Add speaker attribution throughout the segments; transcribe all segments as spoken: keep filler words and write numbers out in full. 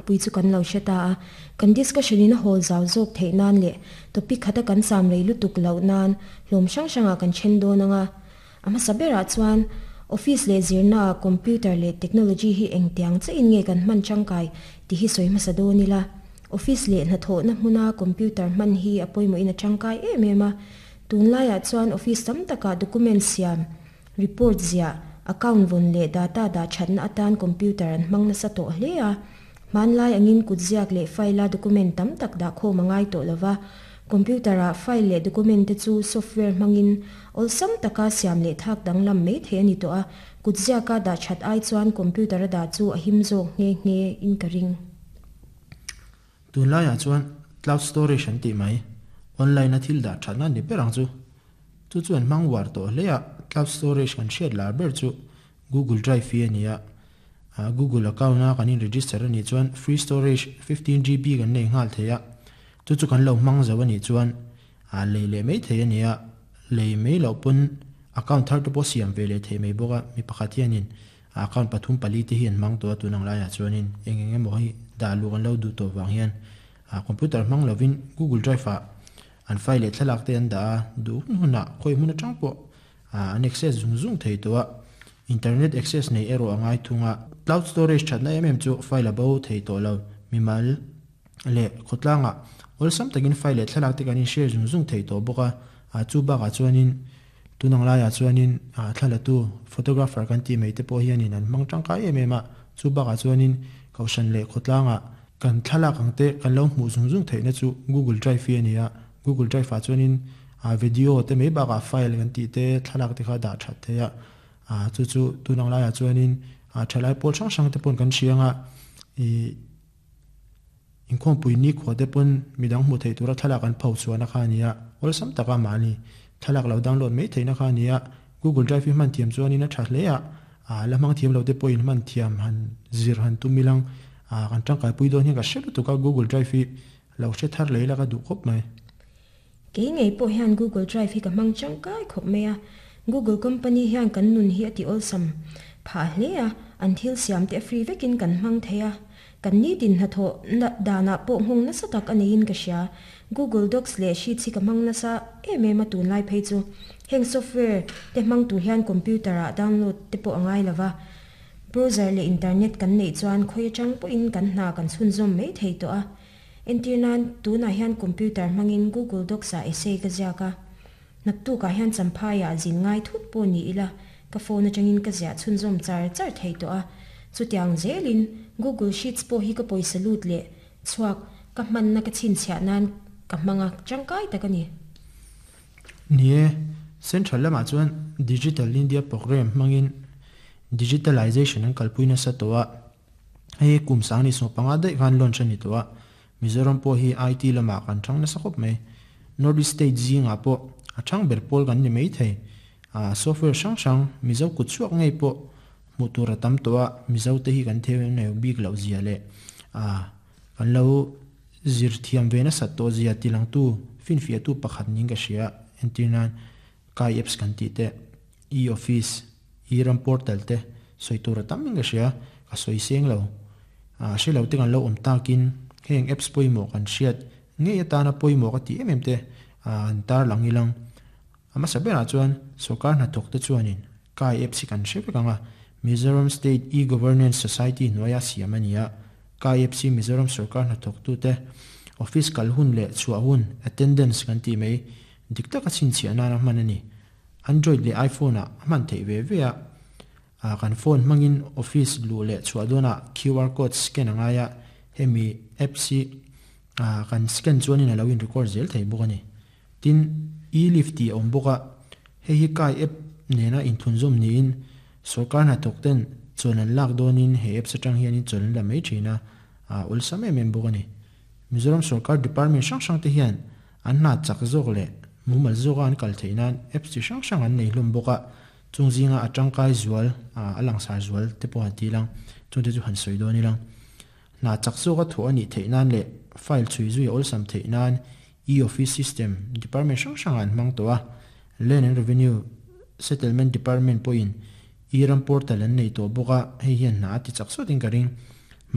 Speaker 1: thupui chu kan lo hre ta a. Kan discussion in a hawl zau zawk theih nan leh topic khata kan cham rei lutuk loh nan hlawm hrang hrangah kan then dawn anga. A hmasa berah chuan office leh zirna ah computer leh technology hi engtiang chiahin nge kan hman tangkai tih hi sawi hmasa dawn ila. Office leh hnathawhna hmuna computer hman hi a pawimawhin a tangkai em em a. Tunlaiah chuan office tam takah document siam, report ziah, account vawn leh data dah thatna atan computer an hmang nasa tawh hle a. Hmanlai angin kut ziak leh file a document tam tak dah khawm a ngai tawh lova. Computer ah file leh document te chu software hmangin awlsam taka siam leh thak danglam mai thei a ni tawh a. Kut ziaka dah that ai chuan computer a dah chu a him zawk nghe nghe in ka ring.
Speaker 2: Tunlaiah chuan cloud storage an tih mai, online a thil dah thatna ni ber ang chu. Chu chu an hmang uar tawh hle a, cloud storage kan hriat lar ber chu Google Drive hi a ni a. Google account a kan in register a nih chuan free storage fifteen G B kan nei nghal thei a. Chu chu kan lo hmang zo a nih chuan lei leh mai thei a ni a, lei mai loh pawn account thar te pawh siam ve leh thei mai bawk a. Mi pakhat hianin account pathum pali te hi an hmang tawh a tun ang laiah chuanin eng eng emaw hi dah luh an lo duh tawh vang hian computer hmang lovin Google Drive ah an file leh thlalak te an dah a, duh hun hunah khawi hmun atang pawh an access zung zung thei tawh a. Internet access nei erawh a ngai thung a. Cloud storage thatna em em chu file a bo thei tawh lo. Mimal leh khawtlangah awlsam takin file leh thlalak te kan in share zung zung thei tawh bawk a. Chu bakah chuanin tunang laiah chuanin thlalatu photographer kan tih mai te pawh hianin an hmang tangkai em em a. Chu bakah chuanin kohhran leh khawtlangah kan thlalak ang te kan lo hmuh zung zung theihna chu Google Drive hi a ni a. Google Drive ah chuanin video te mai bakah file kan tih te thlalak te kha dah that thei a. Chu chu tunang laiah chuanin thalai pawl hrang hrang te pawn kan hriang a, inkhawmpui ni khua te pawn midang hmuh theih tura thlalak an pho chhuahna kha a ni a. Awlsam taka mahni thlalak lo download mai theihna kha a ni a. Google Drive hi hman thiam chuanin a tha hle a, la hmang thiam lo te pawhin hman thiam han zir han tum ilang kan tangkaipui dawn hian ka hre lutuk a. Google Drive hi lo hre thar leh ila ka duh khawp mai.
Speaker 1: Kei ngei pawh hian Google Drive hi ka hmang tangkai khawp mai a. Google company hian kan nun hi a ti awlsam phah hle a, an thil siam te free vekin kan hmang thei a. Kan nitin hnathawh danah pawh nghawng nasa tak a neiin ka hria. Google Docs leh Sheets hi ka hmang nasa em em a tunlai phei chu. Heng software te hmang tur hian computer ah download te pawh a ngai lova. Browser leh internet kan neih chuan khawi atang pawhin kan hna kan chhunzawm mai thei tawh a. Entir nan tunah hian computer hmangin Google Docs ah essay ka ziak a. Naktukah hian champhaiah zin ngai thut pawh ni ila ka phone atangin ka ziah chhunzawm char char thei tawh a. Chutiang zelin Google Sheets pawh hi ka pawisa lut leh chhuak ka hmanna ka chhinchhiah nan ka hmang a tangkai tak a ni.
Speaker 2: Ni e, Central lamah chuan Digital India Programme hmangin digitalization an kalpui nasa tawh a. Hei kum sang ni sawm panga daih khan launch a ni tawh a. Mizoram pawh hi I T lamah kan thang nasa khawp mai. North East State zingah pawh a thang ber pawl kan ni mai thei. Software hrang hrang Mizo kut chhuak ngei pawh hmuh tur a tam tawh a. Mizo te hi kan theu nei bik loh zia leh kan lo zir thiam ve nasat tawh zia tilangtu finfiahtu pakhat niin ka hria. Entir nan Kai apps kan tih te, e-office, e-ram portal te sawi tur a tam in ka hria. Ka sawi seng lo. Hre lo te kan lo awm takin heng apps pawimawh kan hriat ngei atana pawimawh ka tih em em te an tar lang ilang. A hmasa berah chuan sorkar hnathawk te chuanin Kai apps hi kan hre vek ang a. Mizoram State E-Governance Society hnuaia siam a ni a. Kai apps hi Mizoram sorkar hnathawktu te office kal hun leh chhuah hun, attendance kan tih mai, dik taka chhinchhiah nana hman a ni. Android leh iPhone ah a hman theih ve ve a. Kan phone hmangin office luh leh chhuah dawnah Q R code scan a ngai a. Hemi apps hi kan scan chuanin a lo in record zel thei bawk a ni. Tin, e-lift tih a awm bawk a. Hei hi Kai app nena inthunzawm niin sorkar hnathawk ten chawn an lak dawnin he apps atang hianin chawn an la mai thin a, awlsam em em bawk a ni. Mizoram sorkar department hrang hrang te hian an hna chak zawk leh mumal zawka an kal theih nan apps chi hrang hrang an nei hlawm bawk a. Chung zinga a tangkai zual, a langsar zual te pawh han ti lang, chungte chu han sawi dawn ilang. Hna chak zawka thawh a nih theih nan leh file chhui zui a awlsam theih nan e-office system department hrang hrangah an hmang tawh a. Land and Revenue Settlement Department pawhin e-ram portal an nei tawh bawk a, hei hian hna a ti chak sawtin ka ring.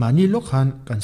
Speaker 2: Mahni lawk khan kan